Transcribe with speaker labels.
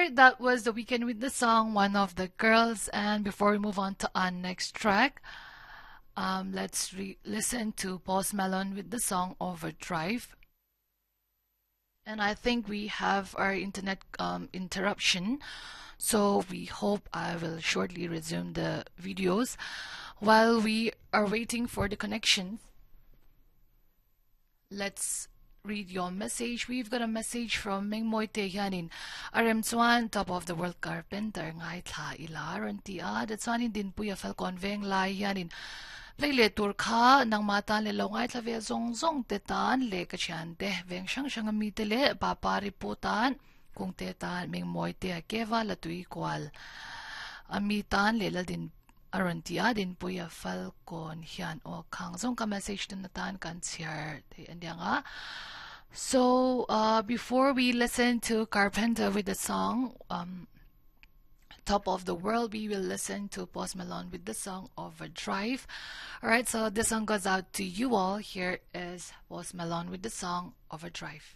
Speaker 1: Alright, that was The Weeknd with the song One of the Girls. And before we move on to our next track, um, let's re- listen to Post Malone with the song Overdrive. And I think we have our internet um, interruption. So we hope I will shortly resume the videos. While we are waiting for the connections, let's read your message. We've got a message from Mingmoi Te hianin a rem chuan Top of the World Carpenter ngaithla ila rawn ti a, tichuanin Dinpuia Falkawn veng lai hianin play leh tur kha nangmah tan leh lo ngaithla ve zawng zawng te tan leh ka thian te veng hrang hrang ami te leh papa ripu tan kungte tan Mingmoi te a keva la tui kual ami tan leh Laldin A rawn ti a, Dinpuia Falkawn hian aw khang zawng ka message tun atan kan chhiar thei a niang a. So, uh, before we listen to Carpenter with the song um, Top of the World, we will listen to Post Malone with the song Overdrive. Alright, so this song goes out to you all. Here is Post Malone with the song Overdrive.